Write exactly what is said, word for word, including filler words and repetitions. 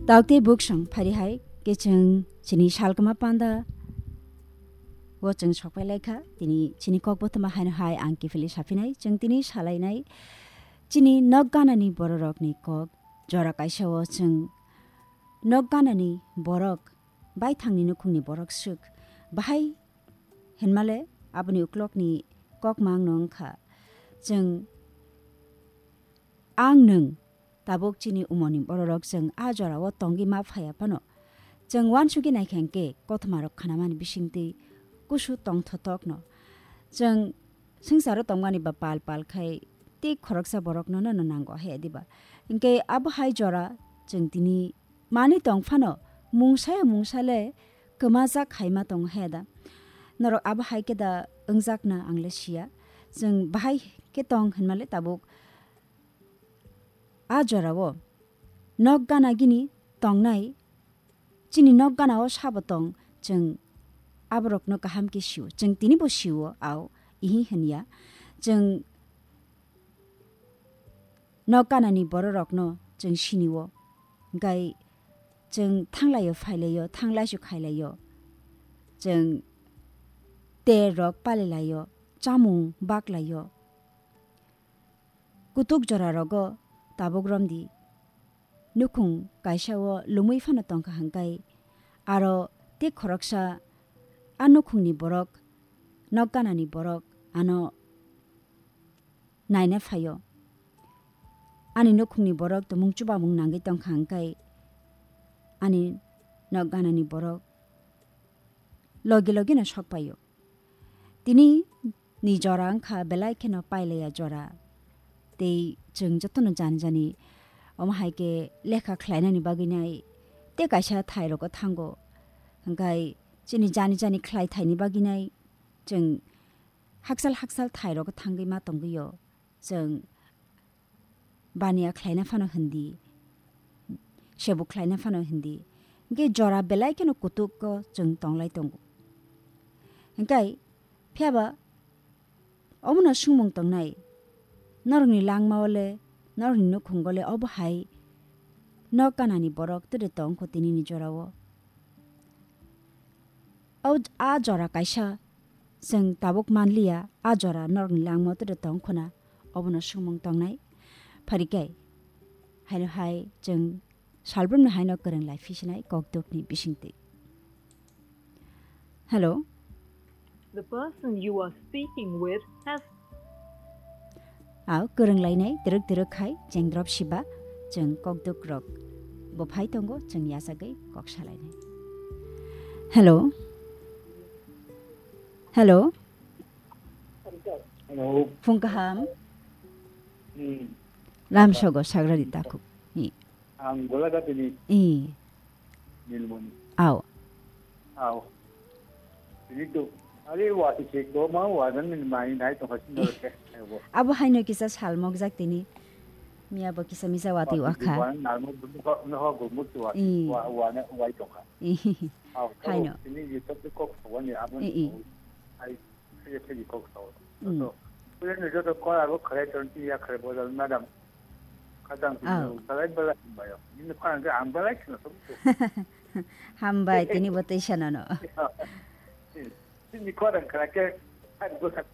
Tauk tei buksong phari hai khe chwng chini salkma panda o chwng sokpai lai kha. Tini chini kok bothoma haino hai ang kiphilwi saphinai. Chwng tini salainai chini nok ganani bororokni kok jora kaisa o chwng nok ganani borok baithangni nukhungni borok swk bahai hinmale aboni uklokni kokma ang no wngkha. Chwng ang nwng tabuk chini umorni bororok chwng a jorao tongwi ma phaiya phano, chwng uansugwi naikha hwnkhe kothoma rok khanamani bisingtwi kusu tongthotokno. Chwng swngcharo tongmani ba pal pal khai tei khoroksa borokno nono nango he diba? Hwnkhe abo hai jora chwng tini manwi tong phano mungsa ya mungsa le kwmajak hai ma tongo he da? Norok abo hai khe da wngjakna ang le siya. Chwng bahai khe tong hinmale tabuk a jorao nok gana gini tongnai, chini nok gana o sabo tong, chwng aborokno kaham khe sio, chwng tini bo sio, ao ihi hinya. Chwng nok ganani bororokno chwng sinio, hwnkhe chwng thanglaio phailaio, thanglaisu khailaio, chwng ter rok palilaio, chamung baklaio. Kutuk jora rogo tabuk romdi. Nukhung kaisa o lumui phano tongkha hwnkhe aro tei khoroksa a nukhungni borok, nok ganani borok ano naina phaio. Ani nukhungni borok tumung chubamung nangwi tongkha hwnkhe ani nok ganani borok logi logi no sok paio. Tini ni jora wngkha belai kheno pailaiya jora. Tei chwng jotono jani jani omo hai khe lekha khlainani bagwi nai tei kaisa thai rogo thango. Hwnkhe chini jani jani khlai thaini bagwi nai chwng hakchal hakchal thai rogo thangwi ma tongwi o. Chwng baniya khlaina phano hindi, sebo khlaina phano hindi. Hwnkhe jora belai kheno kutuko chwng tonglai tongo. Hwnkhe phiyaba omono swngmung tongnai, norokni langmao le, norokni nukhungo le obo hai nok ganani borok tei tongkho tinini jorao? O, a jora kaisa chwng tabuk manliya, a jora norokni langmao tei tong khuna, obono swngmung tongnai. Pharikai, haino hai chwng salbrumni haino kwrwng lai phisinai kokdukni bisingtwi. Hello. The person you are speaking with has Ao, kwrwng lainai, twrwk twrwk khai, chengdrop siba, chwng kokduk rok bo phai tongo, chwng yachagwi kok salainai. Hello. Hello. Hello. Phung kaham. Hmm. Lam sogo sagrari takhuk. Hi. Ang Golaghatini. Hi. Nilmoni. Ao. Ao. Tini to, are wati se ko ma wa dan ni mai nai to hasin no ke. Abo haino kisa salmok jak tini. Miya bo kisa misa wati wakha. Wa narmo bu ko no ho go mut wa. Ih. Wa, wa na, wai to kha. Ih. Ao. Haino. Tini ye to ko ko ni abo. Ih, ih. Ai. Phiyok phiyok kok sao. Mm. To, puya ni joto kok abo khalai ton ti ya khalai bodol madam. Kadang Oh. Khalai bala bayo. Ni ko ang ang bala kino to. Hambai, tini bo tei sana no. Ni ko ang khalai ke, ai go sa